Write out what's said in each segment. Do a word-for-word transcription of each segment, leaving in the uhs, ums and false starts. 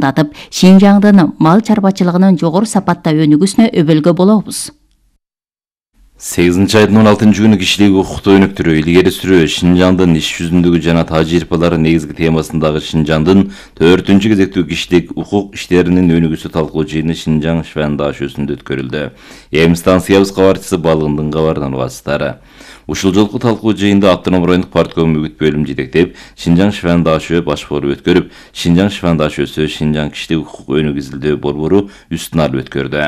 датып, Шинжаңдын мал чарбачылыгынын жогору сапатта өнүгүүсүнө өбөлгө болобуз. сегизинчи айдын он алтынчы күнү кишилик укукту өнүктүрүү, илгери сүрүү, Шинжаңдын иш жүзүндөгү жана тажрыйбалары негизги темасындагы Шинжаңдын төртүнчү кезектүү кишилик укук иштеринин өнүгүүсү талкуу жыйыны Шинжаң Швен дашөсүндө өткөрүлдү. Эми станциябыз кабарчысы Балыгындын кабарынан угасыздар. Ушул жолку талкуу жыйында Автоном райондук партком үгүт бөлүм жетектеп, Шинжаң Швен дашө баш форум өткөрүп, Шинжаң Швен дашөсү Шинжаң кишилик укук өнүгүү изилдөө борбору үстүн алып өткөрдү.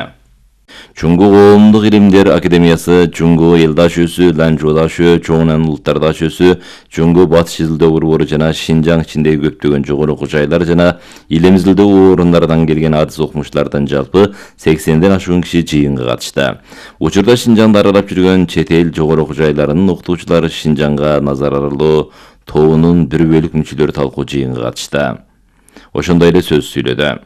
Чуңгу коомдук илимдер академиясы, Чуңгу эл дашөсү, Ланжо дашө, Чоңнан улуттар дашөсү, Чуңгу батыш изилдөө борбору жана Шинжаң ичиндеги көптөгөн жогору окуу жайлар жана илим изилдөө орундарынан келген адис окумуштардан жалпы сексенден ашуун киши жыйынга катышты. Учурда Шинжаңды аралап жүргөн чет эл жогору окуу жайларынын окутуучулары Шинжаңга назар аралоо тобунун бир бөлүк мүчөлөрү талкуу жыйынга катышты. Ошондой эле сөз сүйлөдү.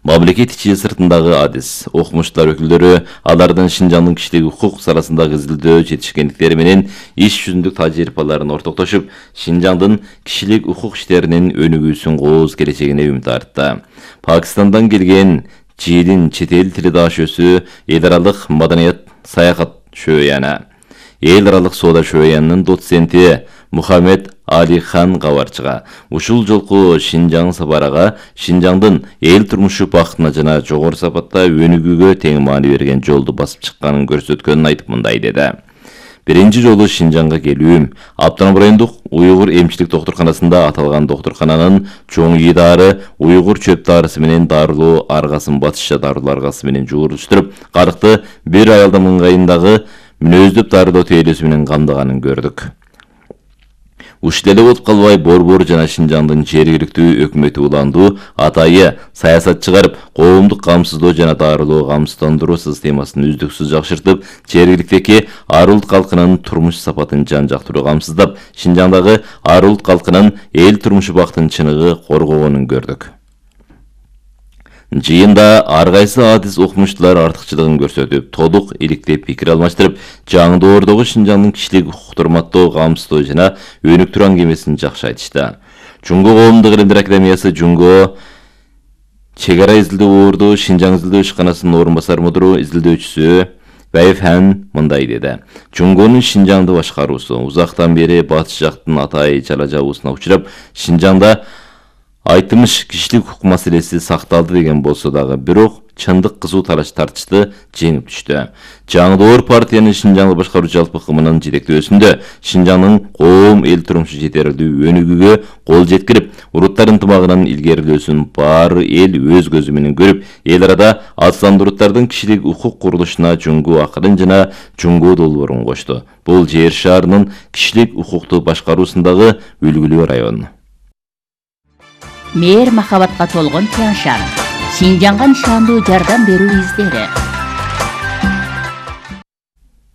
Мамлекет ичи сыртындагы адис, окумуштар өкүлдөрү алардын Шинжаңдын кишилик укук саласындагы изилдөө жетишкендиктери менен иш жүзүндүк тажрыйбаларын ортоктошуп, Шинжаңдын кишилик укук иштеринин өнүгүүсүн кооз келечегине үмүт артты. Пакистандан келген Жиилин чет эл тили дашөсү, эл аралык маданият саякат шөөяны, эл аралык соода шөөянынын доценти Мухаммед Али хан кабарчыга ушул жолку Шинжаң сапарага Шинжаңдын эл турмушу бактына жана жогору сапатта өнүгүүгө тең маани берген жолду басып чыкканын көрсөткөнүн айтып мындай деди. Биринчи жолу Шинжаңга келүүм Автоном райондук уйгур эмчилик доктурканасында аталган доктуркананын чоң ий дары, уйгур чөп дарысы менен дарылоо аргасын батышча дарылоо аргасы менен жууруштуруп, карыкты бир аялдын ыңгайындагы мүнөздөп дарылоо тейлөөсү менен камдаганын көрдүк. Ушул эле болуп калбай, борбор жана Шинжаңдын жергиликтүү өкмөтү уландуу атайы саясат чыгарып, коомдук камсыздоо жана дарылоо камсыздандыруу системасын үздүксүз жакшыртып, жергиликтеги ар улут калкынын турмуш сапатын жан-жактуу камсыздап, Шинжаңдагы ар улут калкынын эл турмушу бактын чыныгы коргогонун көрдүк. Жыйында ар кайсы адис окумуштуулар артыкчылыгын көрсөтүп, толук иликтеп пикир алмаштырып, жаңдоордогу Шинжаңдын кишилик укукту урматтоо, камсыздоо жана өнүктүрүү аңгемесин жакшы айтышты. Чуңгу коомдук илимдер академиясы Чуңгу чек ара изилдөө орду Шинжаң изилдөө ишканасынын орун басар мудуру изилдөөчүсү Байфхан мындай деди. Чуңгунун Шинжаңды башкаруусу узактан бери батыш жактын атай чала жабуусуна учурап, Шинжаңда айтымыш кишилик укук маселеси сакталды деген болсо дагы, бирок чындык кызуу талаш тартышты жеңип түштү. Жаңдоор партиянын Шинжаңды башкаруу жалпы кымынын жетектөөсүндө Шинжаңдын коом эл турмушу жетерлүү өнүгүүгө кол жеткирип, уруттар ынтымагынын илгерилөөсүн баары эл өз көзү менен көрүп, эл арада азсандуу кишилик укук курулушуна Чуңгу акырын жана Чуңгу долбоорун кошту. Бул жер шаарынын кишилик укукту башкаруусундагы үлгүлүү район. Мээр махабатка толгон Тяншан, Шинжаңга нишандуу жардам берүү издери.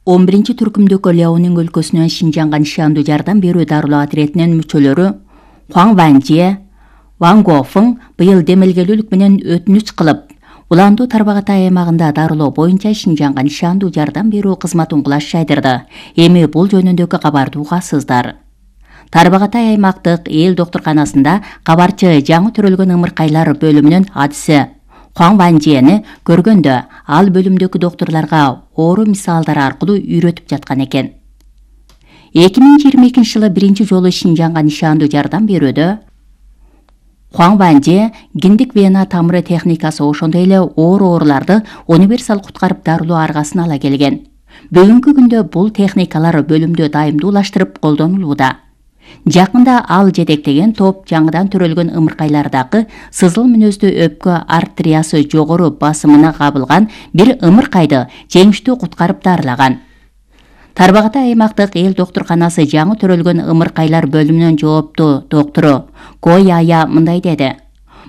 он биринчи түркүмдөгү Ляонин өлкөсүнөн Шинжаңга нишандуу жардам берүү дарылоо отрядынын мүчөлөрү Хуан Ванже, Ван Гофың быйыл демелгелүүлүк менен өтүнүч кылып, Уландуу Тарбағатай аймагында дарылоо боюнча Шинжаңга нишандуу жардам берүү кызматын кулаш жайдырды. Эми бул жөнүндөгү кабарды угасыздар. Тарбағатай аймактык эл доктурканасында кабарчы жаңы төрөлгөн ымыркайлар бөлүмүнүн адиси Хуан Ванжени көргөндө ал бөлүмдөгү доктурларга оору мисалдары аркылуу үйрөтүп жаткан экен. эки миң жыйырма экинчи жылы биринчи жолу Шинжаңга нишандуу жардам берүүдө Хуан Ванже гиндик вена тамыры техникасы, ошондой эле оор ооруларды универсал куткарып дарылоо аргасын ала келген. Бүгүнкү күндө бул техникалар бөлүмдө дайымдуулаштырып колдонулууда. Жакында ал жетектеген топ жаңыдан төрөлгөн ымыркайлардагы сызыл мүнөздүү өпкө артериясы жогору басымына кабылган бир ымыркайды жеңиштүү куткарып дарылаган. Тарбағатай аймактык эл доктурканасы жаңы төрөлгөн ымыркайлар бөлүмүнүн жооптуу доктору Кояя мындай деди.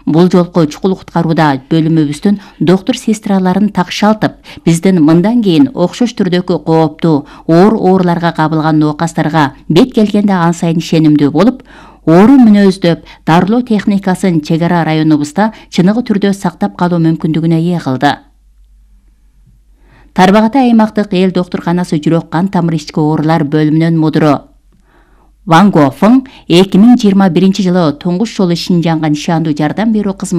Бул жолку чукул куткарууда бөлүмүбүздүн доктор сестраларын такшалтып, биздин мындан кийин окшош түрдөгү кооптуу оор ооруларга кабылган ноокастарга бет келгенде ан сайын ишенимдүү болуп, оору мүнөздөп дарылоо техникасын чек ара районубузда чыныгы түрдө сактап калуу мүмкүндүгүнө ээ кылды. Тарбағатай аймактык эл доктурканасы жүрөк кан тамыр ички оорулар бөлүмүнүн мудуру Ван Гофың эки миң жыйырма биринчи жылы туңгуш жолу Шинжаңга нишандуу жардам берүү кызматы